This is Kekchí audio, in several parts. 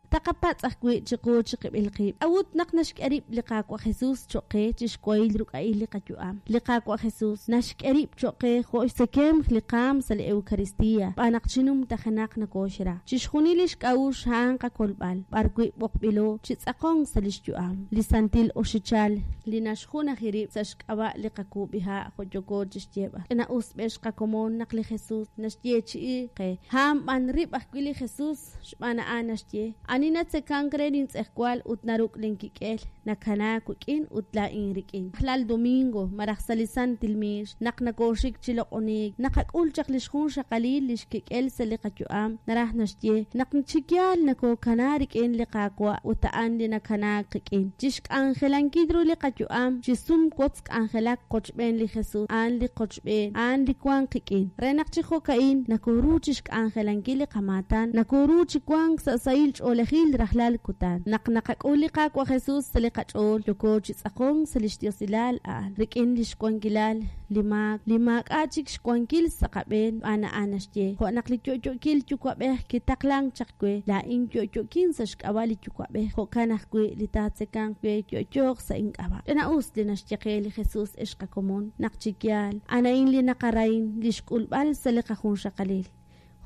Taqapatz' ajwi' chiqu chiqib'il qib', K'a'ut naq naxk'e rib' li Qaawa' Jesus choq' qe chi xwahil ruk'a'il li qayu'am? Li Qaawa' Jesus naxk'e rib' choq' qe jo' xtzekemq li qaam sa' li Eucaristia, xb'aan naq chi numtajenaq nokooxra. Chixjunil lix k'a'uxl a'an qakolb'al, b'ar wi' b'oqb'ilo chi tz'aqonk sa' lix yu'am. Li santil oxichal li naxjunaji rib' sa' xk'ab'a' li qakuub'iha' jo' yooko chixyeeb'al. Ch'ina-us b'ex qakomon naq li Jesus naxyeechi'i qe. A'an b'an rib' ajwi' li Jesus. Xb'aan a'an naxye, Ani natzekank re lintz'ejwal ut naruk' linkik'el, nakanaak wik'in ut laa'in rik'in. Rajlal domingo, malaj sa' li santil miix, naq nokooxik chi loq'oniik, naqak'ul chaq li xjunxaqalil li xkik'el sa' li qayu'am, naraj naxye, naq chi yaal nokookana rik'in li Qaawa' ut a'an li nakanaak qik'in. Chi xk'anjelankil ru li qayu'am, chi sum wotz k'anjelak qochb'een li Jesus, a'an li qochb'een, a'an li wank qik'in. Re naq chi jo'ka'in nokoru chixk'anjelankil li qamaatan, nokoru chi wank sa' sahil ch'oolejil rajlal kutan. Naq naqak'ul li Qaawa' Jesus sa' li qach'ool, yooko chi tz'aqonk sa' lix diosilal a'an, rik'in lix wankilal li maak li maak'a' chik xwankil sa' qab'een, xb'aan a'an naxye, Jo' naq li yo'yookil Yuwa'b'ej kitaqlank chaq we, laa'in yo'yokin sa' xk'ab'a' li Yuwa'b'ej, jo'kan ajwi' li taatzekanq we yo'yooq sa' ink'ab'a'. Ch'ina-us li naxye qe li Jesus, ex qakomon, naq chi yaal, a'an a'in li naqarahin, li xk'ulb'al sa' li qajunxaqalil.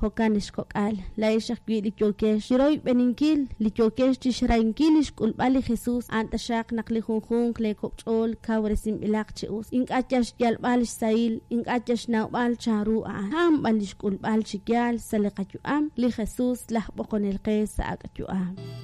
Jo'kan, ex kok'al, laa'ex ajwi' li yookex chiroyb'eninkil, li yookex chixrahinkil li xk'ulb'al li Jesus, a'an taxaq naq li junjunq lee kok' ch'ool kawresinb'ilaq chi us. Ink'a' yal xyalb'al xsahil, ink'a' yal xnawb'al chanru a'an, a'an b'an li xk'ulb'al chi yaal sa' li qayu'am li Jesus laj b'oqonel qe sa' ak' yu'am.